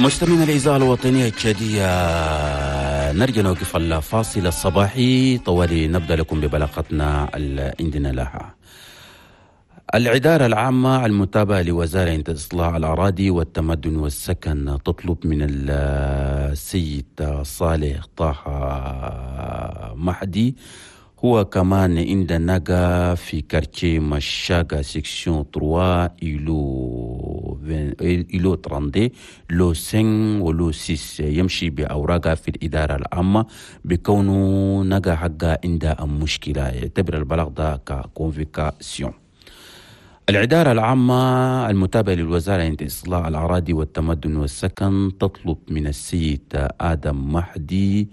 مستمعينا الإذاعة الوطنية التشادية، نرجع نوقف الفاصل الصباحي طوالي، نبدأ لكم ببلاغتنا اللي عندنا لها. الإدارة العامة المتابعة لوزارة إصلاح الأراضي والتمدن والسكن تطلب من السيد صالح طه مهدي، هو كمان عند نقا في quartier مشاقة section 3 îlot 32 lot 5 و lot 6، يمشي بأوراقه في الإدارة العامة بكونه نقا حقه عند مشكلة. يعتبر البلاغ ده ك convocation. الإدارة العامة المتابعة للوزارة عند إصلاح الأراضي والتمدن والسكن تطلب من السيد آدم مهدي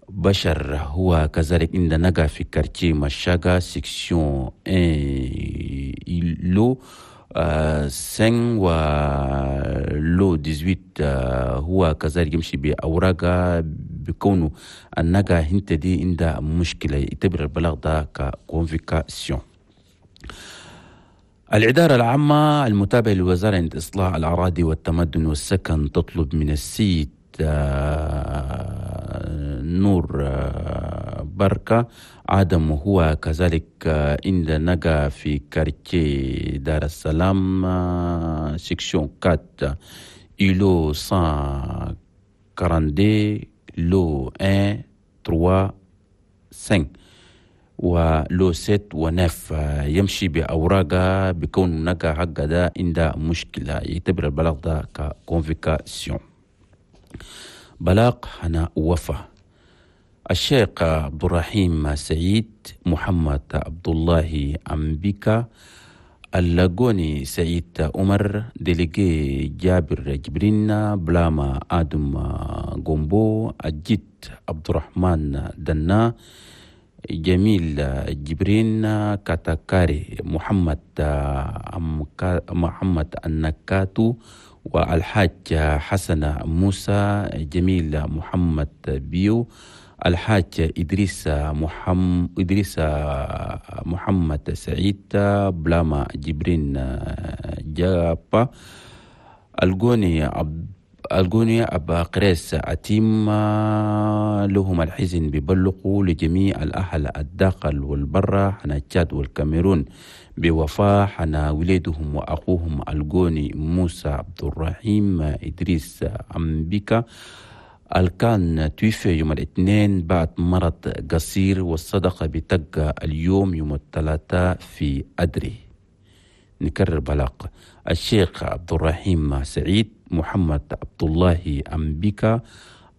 بشر، هو كذلك عند نقا في quartier مشاقة section 1 lot 5 و lot 18، هو كذلك يمشي بأوراقه بكونه النقا هنت دي عندها مشكلة. يعتبر البلاغ ده ك convocation. الإدارة العامة المتابعة للوزارة عند إصلاح الأراضي والتمدن والسكن تطلب من السيد نور بركة آدم، هو كذلك عند نقا في quartier دار السلام section 4 îlot 142 lot 1 3 5 و lot 7 و 9، يمشي بأوراقه بكون نقا حق ده عند مشكلة. يعتبر البلاغ ده ك convocation. بلاغ هنا وفا: الشيخ عبد الرحيم سعيد، محمد عبد الله أمبيكا، اللاقوني سعيد عمر، délégué جابر جبرين، بلاما آدم غومبو، الجد عبد الرحمن دنا، جميل جبرين كاتاكاري، محمد النكاتو، والحاج حسن موسى، جميل محمد بيو، الحاج إدريس محمد سعيد، بلاما جبرين جابا، الجوني أبا قريس أتيم، لهم الحزن بيبلغوا لجميع الأهل الداخل والبرة حنا تشاد والكاميرون بوفاة حنا وليدهم وأخوهم الجوني موسى عبد الرحيم إدريس أمبيكا الكان توفي يوم الاثنين بعد مرض قصير، والصدقة بتبقى اليوم يوم الثلاثاء في أدري. نكرر بلاغ: الشيخ عبد الرحيم سعيد، محمد عبد الله أمبيكا،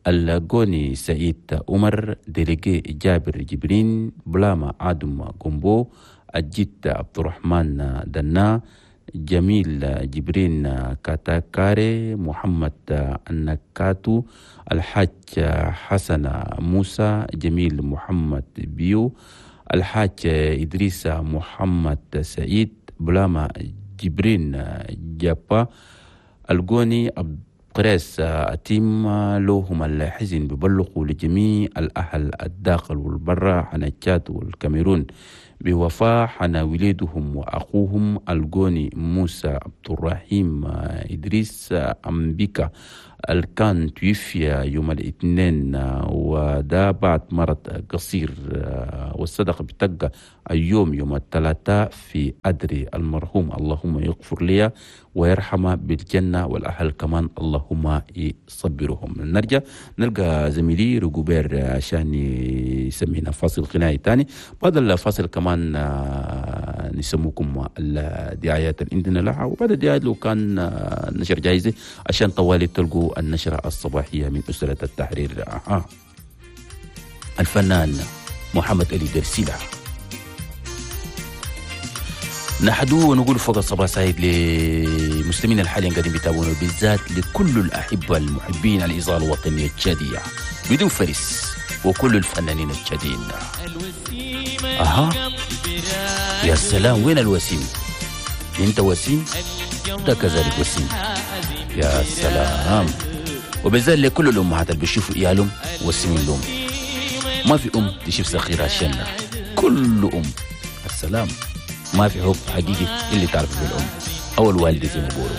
الجوني سعيد عمر، délégué جابر جبرين، بلاما آدم غومبو، الجد عبد الرحمن دنا، جميل جبرين كاتاكاري، محمد النكاتو، الحاج حسن موسى، جميل محمد بيو، الحاج إدريس محمد سعيد، بلاما جبرين جابا، الجوني قريس أتيم، لهم الحزن ببلغوا لجميع الأهل الداخل والبرة حنا تشاد والكاميرون بوفاة حنا وليدهم وأخوهم الجوني موسى عبد الرحيم إدريس أمبيكا الكان توفي يوم الاثنين، وده بعد مرض قصير، والصدقة بتبقى اليوم يوم الثلاثاء في أدري. المرحوم اللهم يغفر لي ويرحمه بالجنة، والأهل كمان اللهم يصبرهم. نرجع نلقى زميلي رجوبير عشان يسمينا فاصل غنائي تاني. بعد الفاصل كمان نسموكم الدعايات اللي عندنا لها، وبعد الدعايات لو كان نشر جايزة عشان طوالي تلقوا النشرة الصباحية من أسرة التحرير. الفنان محمد علي درسيلة نحدو ونقول فوق الصباح سعيد لمسلمين الحاليين قاعدين بيتابعونا، بالذات لكل الأحبة المحبين الإذاعة الوطنية التشادية بدون فرس وكل الفنانين التشاديين. أها يا سلام، وين الوسيم؟ أنت وسيم؟ ده كذلك وسيم. يا سلام. وبالذات لكل الأمهات اللي بيشوفوا عيالهم وسيمين لهم، ما في أم تشوف صغيرة عشاننا، كل أم السلام. ما في حب حقيقي اللي تعرفه بالأم أو الوالدة زي ما بيقولوا.